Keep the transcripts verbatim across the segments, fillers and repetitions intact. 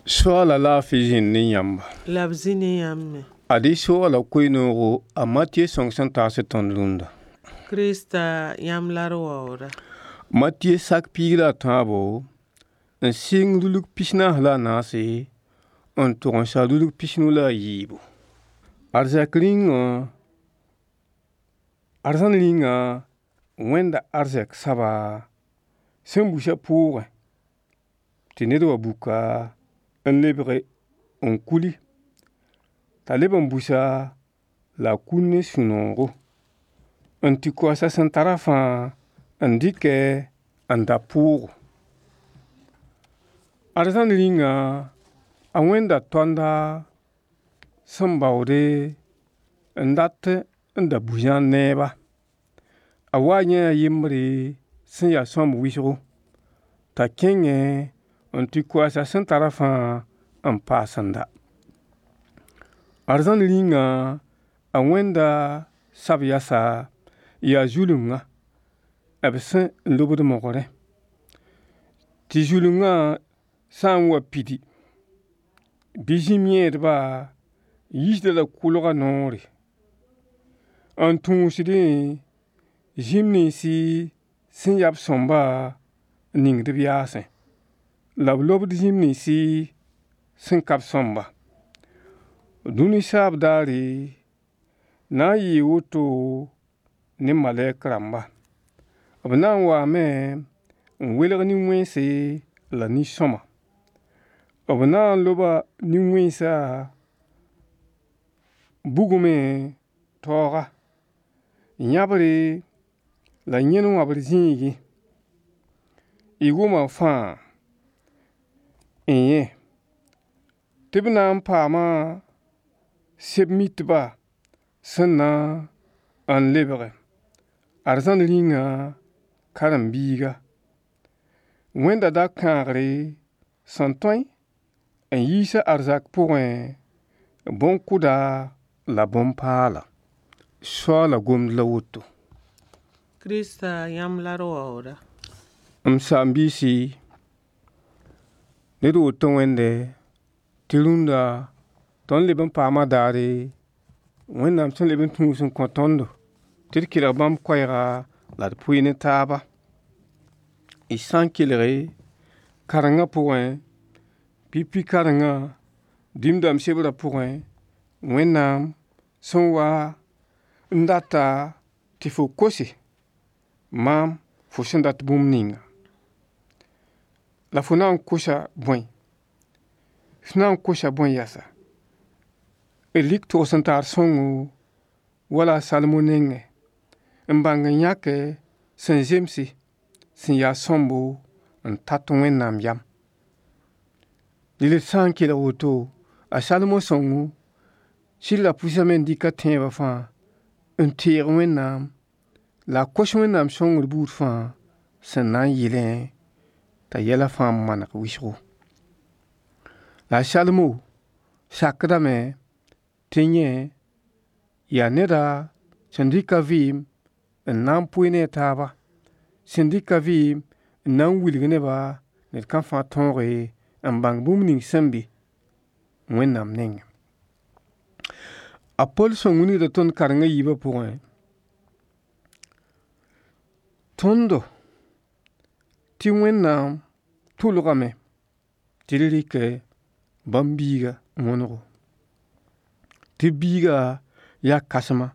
Soaala laafɩ zĩnd ne yãmba. La b zĩ ne yãmb me. Ad-y soaala koe-noogo a Matɩyɛ sõng sẽn taas tõnd rũndã. Krista yãmb la d waooda. Matɩyɛ sak piig la a tãabo n sɩng rulg pis-naas la a naase n tog n sa rulg pis-nu la a yiibu. Arzɛk rĩngã arzãn rĩnga wẽnda arzɛk soaba sẽn busã pʋʋgẽ tɩ ned wa buka n lebge n kuli t'a leb n busa la a kul ne sũ-noogo n tɩ koas a sẽn tarã fãa n dɩkɛ n da pʋʋgo. Arzãn rĩnga a wẽnda toanda sẽn baoode n dat n da bu-zãad neeba. A waa n yãee a yembre sẽn ya sõamb wɩsgo t'a kẽngẽ n tɩ koas a sẽn tarã fãa n paas n da. Arzãn rĩnga a wẽnda sab-yasa yaa zulungã b sẽn lobd mogrẽ tɩ zulungã sã n wa pidi bɩ zĩm yẽedba yiisda-la kʋlga noore n tũusdẽ zĩm ninsi sẽn ya b sõmba n ningd b yaasẽ la b lobd zĩm ninsi sẽn ka b sõmba. Dũni saab daare na n yɩɩ woto ne malɛk rãmba. B na n waame n welg nin-wẽnse la nin-sõma. B na n loba nin-wẽnsã bugmẽ taooga, yãbre la yẽn wãbr zĩigẽ. Y wʋma fãa n yẽ tɩ b na n paama seb-mitba sẽn na n lebge arzãn rĩnga karen-biiga. Wẽnda da kãagre sẽn tõe n yiis a arzak pʋgẽ bõn-kʋda la bõn-paala. Soaala gomd la woto. Krista yãmb la d waooda. M saam-biisi, ned woto wẽnde tɩ rũndã tõnd leb n paama daare Wẽnnaam sẽn leb n tũus n kõ tõndo tɩ d kelg bãmb koɛɛga la d pʋɩ ne taaba. Y sã n kelge karengã pʋgẽ, pipi karengã dĩm dãmb sebrã pʋgẽ, Wẽnnaam sẽn wa n data tɩ fo kose maam fo sẽn dat bũmb ninga. La fo na n kosa bõe? F na n kosa bõe yɛsa? D rɩk togs-n-taar sõngo wala a Salmo nengẽ n bãng n yãke sẽn zemse sẽn ya sõmbo n tat Wẽnnaam yam. Rel d sã n kelg woto, a Salmo sõngo sɩd ra pʋsame n dɩk a tẽebã fãa n teeg Wẽnnaam la a kos Wẽnnaam sõngr buud fãa sẽn na n yɩlẽ t'a yɛla fãa maneg wɩsgo. La a Salmo sakdame tɩ yẽ yaa neda sẽn dɩk a vɩɩm n na n pʋɩ ne a taaba, sẽn dɩk a vɩɩm n na n wilg neba ned kam fãa tõoge n bãng bũmb ning sẽn be Wẽnnaam nengẽ. A Pol sõng wilgda tõnd kareng a yiibã pʋgẽ, tõndo tɩ Wẽnnaam tʋlgame tɩ d rɩkɛ bãmb biiga wõnego, tɩ biiga yaa kãsema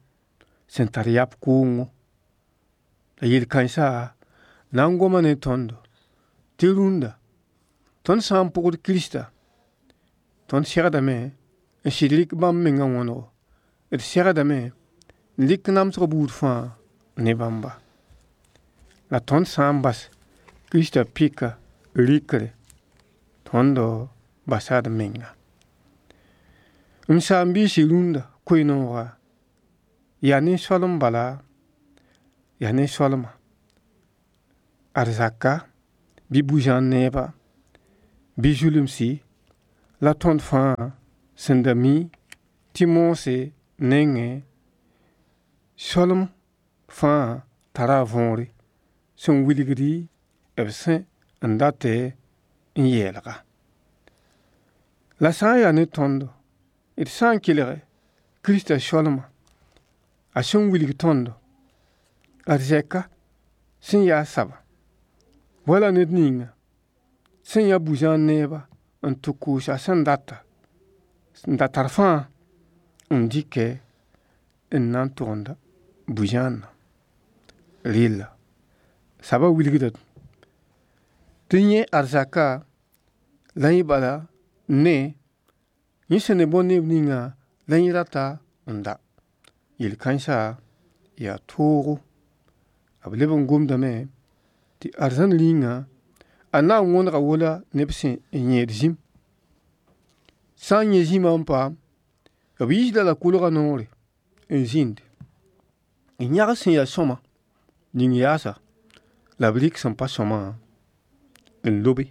sẽn tar yap kʋʋngo. La yel-kãensã na n goma ne tõndo tɩ rũndã tõnd sã n pʋgd Kirista, tõnd segdame n sɩd rɩk bãmb mengã wõnego, d segdame n rɩk namsg buud fãa ne bãmba. La tõnd sã n bas Kirista pɩka rɩkre, tõndo basa d menga. M saam-biisi rũndã koe-nooga yaa nin-soalem bala, yaa nin-soalma, arzaka bɩ bu-zãad neeba bɩ zulumsi la tõnd fãa sẽn da mi tɩ moosã nengẽ soalem fãa tara a võore sẽn wilgdi b sẽn n datẽ n yeelga. La sã n yaa ne tõndo, d sã n kelg Kiristã solmã, a sẽn wilg tõndo, arzɛka sẽn yaa saba, wala ned ninga sẽn yã bu-zãan neeba n tɩ kʋʋs a sẽn data, n da tar fãa n dɩkɛ n na n togend bu-zãanã. Rella saba wilgda tɩ yẽ arzaka la yẽ bala ne yẽ sẽn ne bõn-neeb ninga la yẽ rata n da. Yel-kãensã yaa toogo. B leb n gomdame tɩ arzãn rĩnga a na n wõnega wala neb sẽn yẽed zĩm. Sã n yẽ zĩmã n paam, b yiisda la kolgã noore n zĩnd n yãgs sẽn ya sõma ning yaasa la b rɩk sẽn pa sõmã n lobe.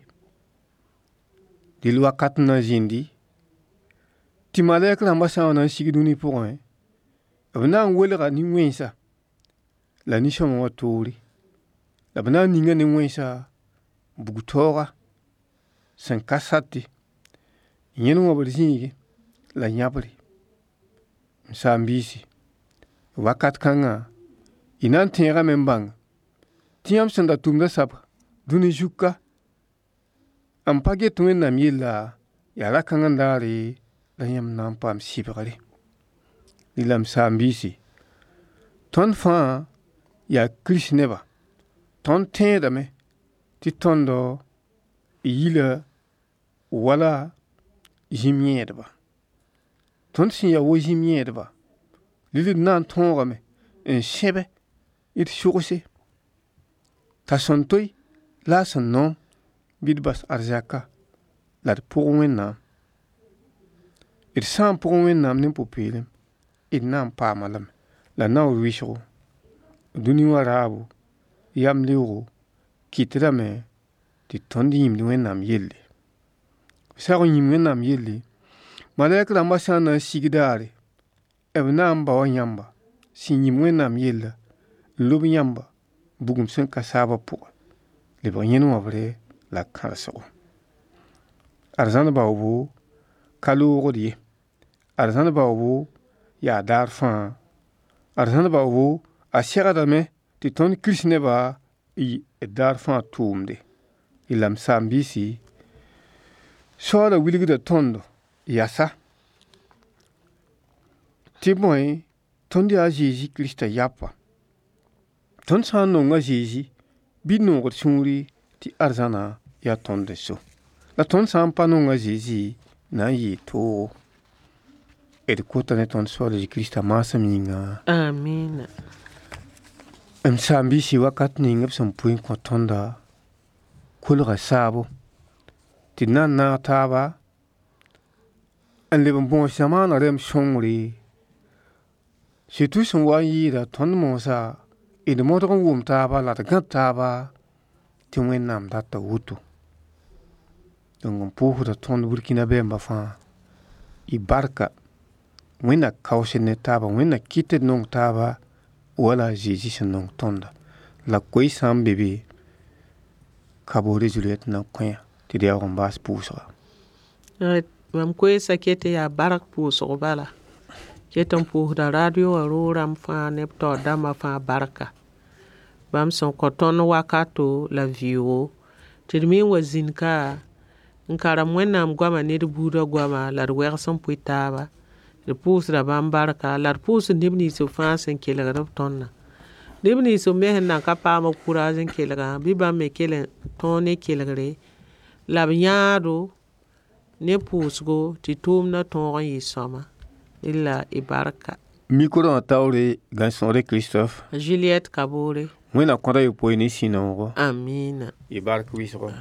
Dɩl wakat n na zĩndi tɩ malɛk rãmbã sã n wa na n sig dũni pʋgẽ, b na n welga nin-wẽnsã la nin-sõma wã toore, la b na n ninga nin-wẽnsã bug-taooga sẽn ka sate, yẽn wãbr zĩigẽ la yãbre. M saam-biisi, wakat kãngã y na n tẽegame n bãng tɩ yãmb sẽn da tʋmda saba dũni zug ka n pa get Wẽnnaam yella yaa ra-kãng n daare la yãmb na n paam sɩbgre. Rɩla m saam-biisi, tõnd fãa yaa Kirist neba, tõnd tẽedame tɩ tõndo yila wala zĩm yẽedba. Tõnd sẽn ya wa zĩm yẽedba, rɩl d na n tõogame n sẽbe d sogse t'a sẽn toe la a sẽn noom bɩ d bas arzɛka la d pʋg Wẽnnaam. D sã n pʋg Wẽnnaam ne pʋ-peelem, d na n paam-a lame, la naoor wɩsgo, dũni wã raabo, yam-leoogo kɩtdame tɩ tõnd yĩmd Wẽnnaam yelle. B sag n yĩm Wẽnnaam yelle, malɛk rãmbã sã n na n sig daare, b na n baoa yãmba sẽn yĩm Wẽnnaam yella n lob yãmba bugum sẽn ka saabã pʋgẽ, lebg yẽn wãbre la kãrengsgo. Arzãn baoobo ka loogd ye, arzãn baoobo yaa daar fãa, arzãn baoobo a segdame tɩ tõnd Kirist nebã y d daar fãa tʋʋmde. La m saam-biisi, Soaala wilgda tõndo yasa tɩ bõe tõnd yaa a Zezi Kiristã yapa. Tõnd sã n nong a Zezi bɩ d noog d sũuri tɩ arzãna yaa tõnd n so. La tõnd sã n pa nong a Zezi na n yɩɩ toogo. D kota ne tõnd Soaal Zezi Kiristã maasem yĩnga. Amina. M saam-biisi wakat ning b sẽn pʋɩ n kõ tõnda kolga saabo tɩ d na n naag taaba n leb n bõos zamaana rɛm sõngre surtout sẽn wa n yɩɩda tõnd moosã d modg n wʋm taaba la d gãd taaba tɩ Wẽnnaam data woto. Donc n pʋʋsda tõnd Burkina bɛɛmbã fãa y barka Wẽnna kaoosd ne taaba Wẽnna kɩt d nong taaba wala a Zezi sẽn nong tõnda. La koe sã n be be Kabore Juliette na n kõ tɩ d yaoog n baas pʋʋsga. Mam koeesã ket n yaa bark pʋʋsg bala. Ket n pʋʋsda radio wã roog rãmb fãa neb taoor dãmbã fãa barka. Bãmb sẽn kõ tõnd wakato la vɩʋʋgo tɩ d me n wa zĩnd ka n karem Wẽnnaam goama ne d buudã goama la d wɛgs n pʋɩ taaba. D pʋʋsda bãmb barka la d pʋʋsd neb nins fãa sẽn kelgd b tõndã. Neb nins me sẽn nan ka paam b kʋraas n kelgã bɩ bãmb me kell n tõog ne kelgre la b yãado ne pʋʋsgo tɩ tʋʋmdã tõog n yɩ sõama. Rela y barka. Micro wã taoore Gãn-sõore Christophe. Juliette Kabore. Wẽnna kõda yopoe ne sũ-noogo. Amina. Y bark wɩsgo.